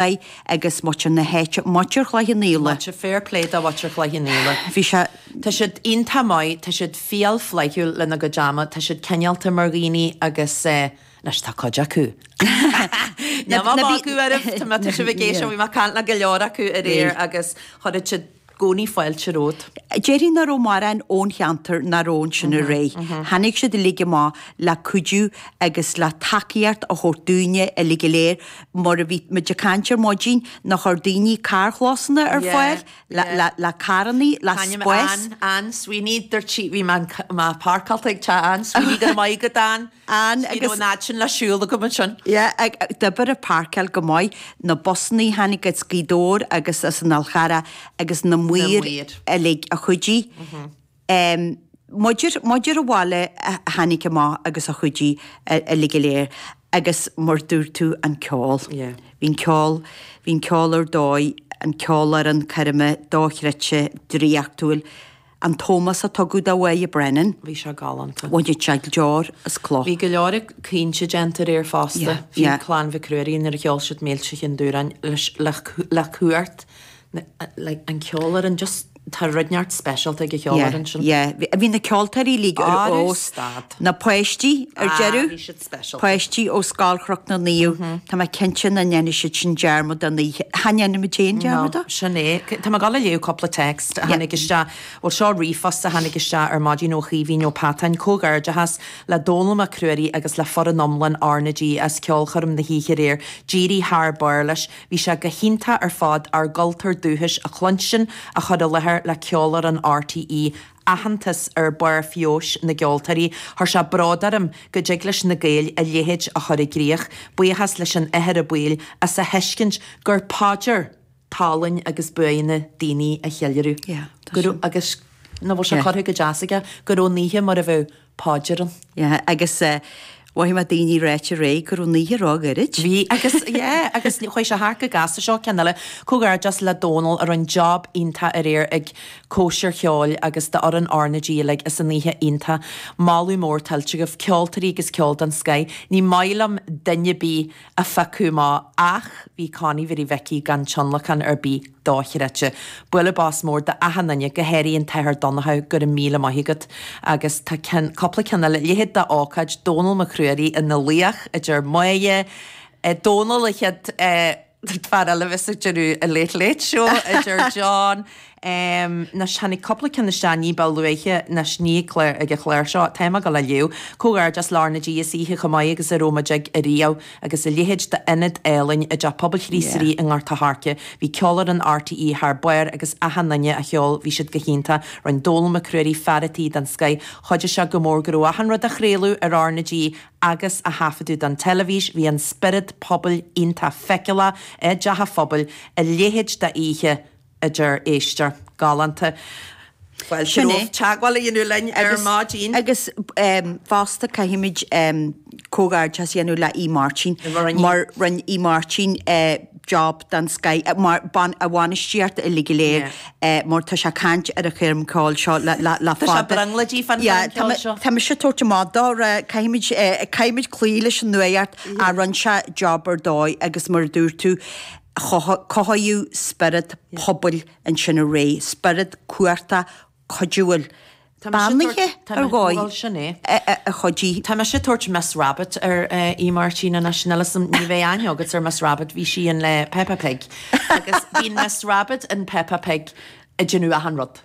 Agus muintir na háite, muintir Chloich Cheann Fhaola. Muintir, fair play do mhuintir Chloich Cheann Fhaola. Bhí sé. Tá siad iontach maith, tá siad fial flaithiúil lena gcuid ama, tá siad cineálta mar dhaoine agus eh, anois tá cuid acu. Níl mé ag magadh oraibh, tá mé, tá sibh ag éisteacht, bhí mé ag caint le go leor acu aréir agus chuirfeadh siad gcónaí fáilte romhat. Déarfainn nach raibh mórán ón cheantar nach raibh ansin aréir. Tháinig siad uilig amach le cuidiú agus le tacaíocht a thabhairt dúinne uilig go léir mar a bhí muid ag caint ar maidin nár chuir daoine carrchlósanna ar fáil le carrannaí, le spás. Ann, Ann Sweeney, dúirt sí, bhí mé páirceáilte ag teach Ann Sweeney, go raibh maith agat Ann. Ann agus. Ní raibh an fhad sin le siúl agam ansin. Yeah, d'oibir an páirceáil go maith. Na busannaí a tháinig as Gaoth Dobhair agus as an Fhál Charrach agus na maoir uilig a chuidigh. Muintir, muintir an bhaile a tháinig amach agus a chuidigh uilig go léir. Agus mar dúirt tú, an ceol. Yeah. Bhí an ceol, bhí an ceol ar dóigh, an ceolfhoireann coirme dochreidte, draíochtúil. An t-ómós a tugadh do Mháire Brennan. Bhí sé galánta. Bhain sé deor as cloch. Bhí go leor caointe déanta aréir fosta. Bhí Clann Mhic Ruairí nuair a cheol siad Mílte Chinn Dúráin le cumhacht like an ceolfhoireann just tá rud inteacht speisialta ag an cheolfhoireann sin. Yeah, bhí na ceoltóirí uilig ar fheabhas. Na páistí ar deireadh. Bhí siad speisialta. Páistí ó Scoil Chnoc na Naomh. Tá mé cinnte nach ndéanfaidh siad sin dearmad den oíche. Cha ndéanfaidh muid féin dearmad de. No, sin é. Tá mé ag dul a léamh cúpla text a tháinig isteach. Bhuel, seo ríomhphost a tháinig isteach ar maidin ó Chaoimhín Ó Peatáin, Comhghairdeachas le Dónall Mac Ruairí agus le foireann iomlán R na G as ceolchoirm na hoíche aréir. D'éirigh thar barr leis. Bhí sé go hiontach ar fad ár gcultúr dúchais a chluinstin á chur i láthair le ceolfhoireann RTÉ. Aitheantas ar barr feabhais na gceoltóirí. Chuir sé bród orm go dtig leis na Gaeil a leithéid a chur i gcrích. Buíochas leis an Athair Ó Baoill as a thuiscint gur paidir tallann agus buanna daoine a cheiliúradh. Yeah, tá sin. Agus nach bhfuil sé curtha go deas aige go raibh an oíche mar a bheadh paidir ann. Yeah, agus mhothaigh mé daoine ráite aréir go raibh an oíche ró-ghairid. Bhí, agus, yeah, agus chuaigh sé thart go gasta seo ceann eile. Comhghairdeas le Dónal a rinne job iontach aréir ag cóisir cheoil agus d'fhoireann R na G uilig as an oíche iontach. Moladh mór tuillte agaibh, ceoltóirí agus ceol den scoith. Ní maith liom duine ar bith a phiocadh amach ach bhí Connie Mhary Mhicí gan tionlacan ar bith dochreidte. Bualadh bos mór d'achan duine, go háirithe an tAthair Donnchadh, go raibh míle maith agat. Agus tá ceann, cúpla ceann eile, leithéid d'ócáid, Dónal Mac Ruairí ina laoch, a deir Máire, Dónal an chéad fear eile a bheas ag déanamh an Late Late Show, a deir John. Anois tháinig cúpla ceann isteach ní ba luaithe, anois ní ag clár, ag an chlár seo, táim ag dul a léamh. Comhghairdeas le R na G as oíche chomh maith agus a raibh muid ag ariamh agus a leithéid d'ionad álainn i dTeach Pobail Chríost Rí i nGort a' Choirce. Bhí ceolfhoireann RTÉ thar barr agus achan duine a cheol, bhí siad go hiontach. Rinne Dónal Mac Ruairí fear a' tí den scoith. Chuidigh sé go mór go raibh achan rud á chraoladh ar R na G agus á thaifeadadh don teilifís. Bhí an spiorad pobail iontach feiceálach i dTeach a' Phobail, a leithéid d'oíche. a deir éisteoir galánta. Bhuel, sin é. Teagmháil a dhéanamh linn ar maidin. Agus fosta caithfimid comhghairdeas a dhéanamh le Aodh Máirtín mar rinne Aodh Máirtín job den scoith mar a bhainistíocht uilig go léir mar tá sé ag caint ar an choirm ceoil seo le fada. Tá sé brionglóidí fán choirm ceoil seo. Tá mise ag tabhairt amach dó caithfimid caithfimid cloí leis an nuacht a rinne sé job ar dóigh agus mar a dúirt tú Cothaíodh spiorad pobail ansin aréir, spiorad cumhachtach cuidiúil, beannaithe ar dhóigh a chuidigh. Tá mise ag tabhairt Miss Rabbit ar Aodh Máirtín anois, níl 'fhios a'm, ní bheidh aithne agat ar Miss Rabbit, bhí sí in le Peppa Pig agus bíonn Miss Rabbit in Peppa Pig ag déanamh achan rud.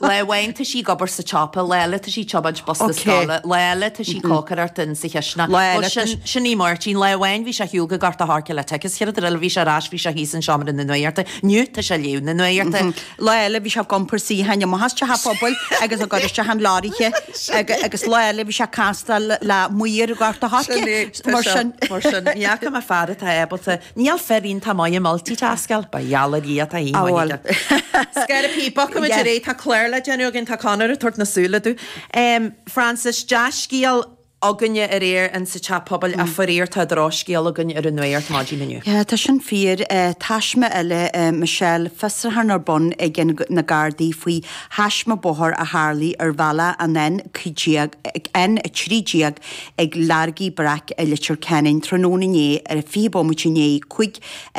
Lá amháin tá sí ag obair sa tsiopa, lá eile tá sí ag tiomáint bosca scoile, lá eile tá sí ag cócaireacht in sa chisteanach. Lá eile tá sí. Sin í Máirtín. Lá amháin bhí sé ar shiúl go Gort a' Choirce le tickets, chéad rud eile bhí sé ar ais, bhí sé thíos in seomra na nuachta. Inniu tá sé ag léamh na nuachta. Lá eile bhí sé ag iompar suíocháin amach as teach a' phobail agus ag cur isteach an leoraithe agus lá eile bhí sé ag castáil le maor Ghort a' Choirce. Mar sin. Mar sin. Ní fhaca mé fear atá ábalta Níl fir iontach maith ag multitaskáil, ba gheall ar Dhia atá í maith aige. Scair bogfaimid ar aghaidh, tá clár le déanamh againn, tá Conor ag tabhairt na súile domh. Frances, dea-scéal. againne aréir in sa teach pobail ach faraor tá drochscéal againn ar an nuacht maidin inniu. Yeah, tá sin fíor. Taisme eile, Michelle, fiosrúchán ar bun ag na Gardaí faoi thaisme bóthair a tharlaigh ar bhealach an N15, N13 ag Laragy Breac i Leitir Ceanainn tráthnóna inné ar 20 bomaite i ndiaidh 5.